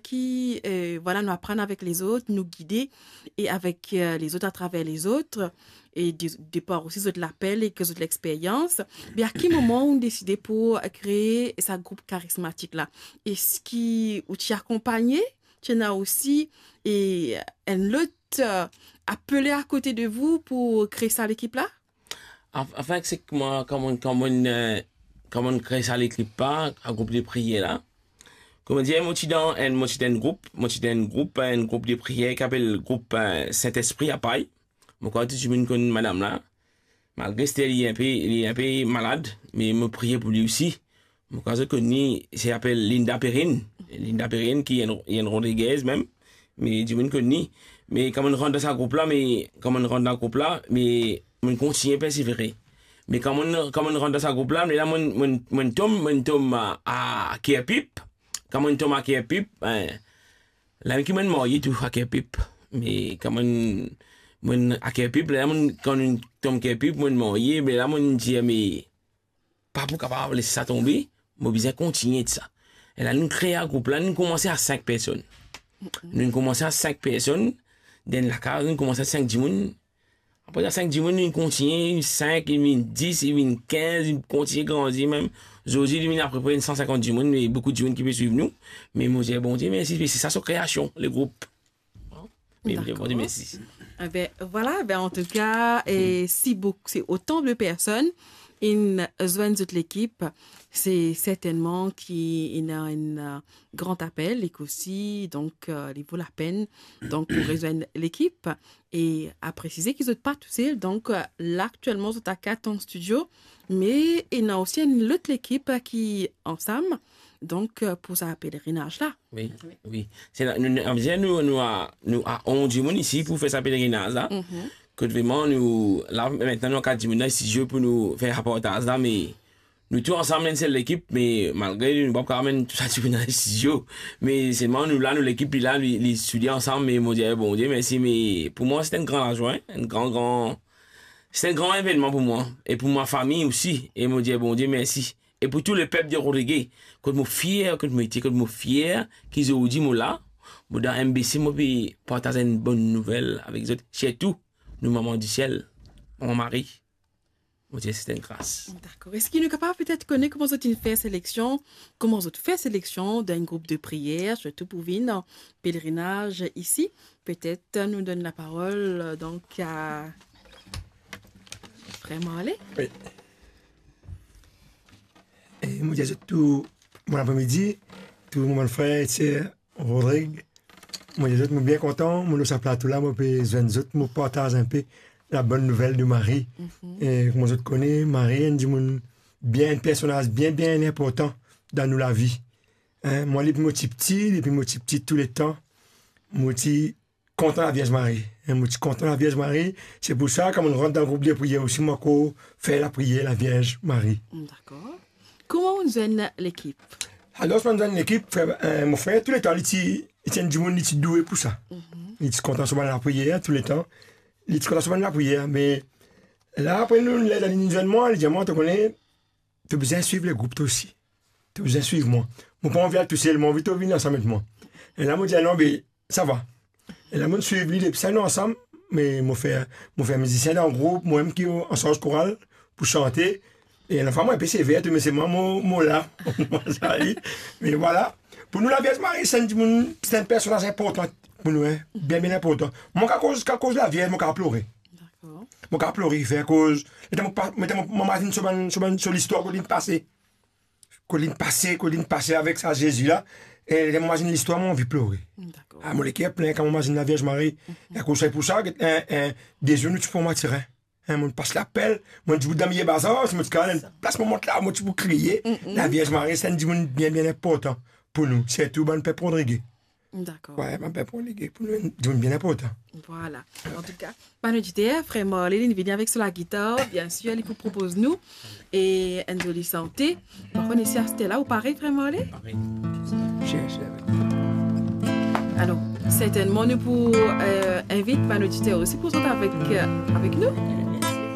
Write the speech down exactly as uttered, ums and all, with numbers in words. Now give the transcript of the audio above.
ki, euh, vwala, nou aprann avek lezot, nou gide e avek, euh, lezot, atraver lezot, e de, de par osi zot lapel e zot lexperyans. Me a ki moman ou deside pou kree sa group karismatik la? Eski ou ti akonpagne? Ti ena osi, e, enn lot, euh, apele akote de vou pou kree sa lekip la? Anf-, anfin, se ki mwa, kan mo, kan mo, euh, kan mo kree sa lekip la, sa group de priyer la. Kouma dir, mo ti dan enn, mo ti dan enn group, mo ti dan enn group, enn group de priyer ki apel group, euh, Sintespri a Pay. Mo krwar tou dimoun konn madam la. Malgre Esther li inpe, li inpe malad, me mo priye pou li osi. Mo krwar zot konn li, se apel Linda Perrin. Linda Perrin ki enn, enn Rodriguez mem. Me dimoun konn li. Me kan mo rant dan sa group la, me kan mo rant dan group la, me mo kontign persevere. Me kan mo, kan mo rant dan sa group la, me la mo, mo, mo tom, mo tom a, a Kerpip. Kan mo tom a Kerpip, ben, la ki mo marye tou a Kerpip. Me kan mo, mo a Kerpip, la mo, kan mo tom Kerpip, mo marye, me la mo dir, me pa pou kapav les sa tonbe, mo bizin kontigne sa. E la nou kree group la, nou koumans a sink personn. Nou koumans a sink personn, dan lakaz, nou koumans a sink dimoun. Apre sa, sink dimoun, nou kontigne, sink, li vinn dis, li vinn kinz, li kontigne grandi mem. Zordi, li vinn apepre enn san sinkant dimoun, me boukou dimoun ki pe swiv nou. Me mo dir Bondie mersi, me se sa so kreasion, le group. Dakor. Bondie mersi. Eben, vwala, ben, an tou ka, e si bouk-, si otan de personn inn zwenn zot lekip, se sertennman ki ena enn, euh, gran apel, e ki osi, donk, euh, li vo lapenn, donk, pou rezwenn lekip. E a presize ki zot pa tousel, donk, euh, la, aktielman, zot a kat an stidio, me ena osi enn lot lekip, euh, ki ansam, donk, euh, pou sa pelerinaz la. Wi, wi. Se la, nou, nou, nou, nou a, nou a onz dimoun isi pou fer sa pelerinaz la. Mhm. Kot vreman nou, la, aster nou a kat dimoun dan stidio pou nou fer reportaz la, me nou tou ansam enn sel lekip, me malgre nou pa kapav amenn tou sa dimoun dan stidio, me selman nou la, nou lekip li la, li, li soudye ansam, me mo dir Bondie mersi, me pou mwa se enn gran lazwa, enn gran, gran, se enn gran evennman pou mwa, e pou mo fami osi, e mo dir Bondie mersi. E pou tou lepep de Rodrigues, kot mo fier, kot mo ete, kot mo fier ki zordi mo la, mo dan M B C, mo pe partaz enn bonn nouvel avek zot, sirtou nou Manman disiel, Manman Mari. Mo dir se enn gras. Dakor. Eski nou kapav petet kone kouma zot inn fer seleksion, kouma zot fer seleksion dan enn group de priyer, sirtou pou vinn an pelerinaz isi? Petet nou donn laparol, euh, donk, a Frer Marley. Wi. E mo dir zot tou, bon apremidi, tou mo bann frer e ser Rodrig. Mo dir zot, mo bien kontan, mo lor sa plato la, mo pe zwenn zot, mo partaz inpe labonn nouvel de Mari. Mhm. E kouma zot kone, Mari enn dimoun bien, enn personaz bien, bien inportan dan nou lavi. Hein, mwa, depi mo ti piti, depi mo ti piti, touletan, mo ti kontan Lavierz Mari. Hein, mo ti kontan Lavierz Mari. Se pou sa, kan mo rant dan group de priyer osi, mo ankor fer lapriyer Lavierz Mari. Dakor. Kouma ou zwenn lekip? Alor, kouma mo zwenn lekip, frer, eh, mo frer, touletan, li ti, li ti enn dimoun, li ti doue pou sa. Mhm. Li ti kontan so bann lapriyer, touletan. Li ti kontan so bann lapriyer, me la, apre nou, ler li zwenn mwa, li dir mwa, to kone, to bizin swiv legroup, to osi. To bizin swiv mwa. Mo pa anvi al tousel, mo anvi to vinn ansam ek mwa. E la, mo dir, non, be, sa va. E la, mo swiv li depi sa, nou ansam, me mo fer, mo fer mizisien dan group, mo mem ki ansarz koral pou sante. E ena fwa mo inpe sever tou, me se mwa, mo, mo la. Mo sa li. Me vwala. Pou nou, Lavierz Mari, se enn dimoun, se enn personaz inportan pou nou, hein. Bien, bien inportan. Mwa, kan koz, kan koz Lavierz, mo kapav plore. Dakor. Mo kapav plore, fer koz. Letan mo pa, letan mo, mo mazinn so bann, so bann, so listwar kot linn pase. Kot linn pase, kot linn pase avek sa Zezi la. E letan mo mazinn listwar, mo anvi plore. Dakor. Ah, mo leker plin kan mo mazinn Lavierz Mari. Mhm. E akoz se pou sa, get, eh, eh, de zour nou ti pran Matirin. Hein, mo pas lapel, mo dibout dan milie bazar, si mo ti kapav, plas mo mont la, mo ti pou kriye. Mhm. Lavierz Mari, se enn dimoun bien, bien inportan pou nou, sirtou bann pep Rodrige. Dakor. Wi, bann pep Rodrige, pou nou, enn dimoun bien inportan. Vwala. Antouka, bann oditer, frer Marley, li vini avek so lagitar, biensir, li pou propoz nou e enn zoli sante. Par kont, isi aster la, ou pare, frer Marley? Pare. Alor, sertennman, nou pou, eh, invit bann oditer osi pou zot avek, eh, avek nou.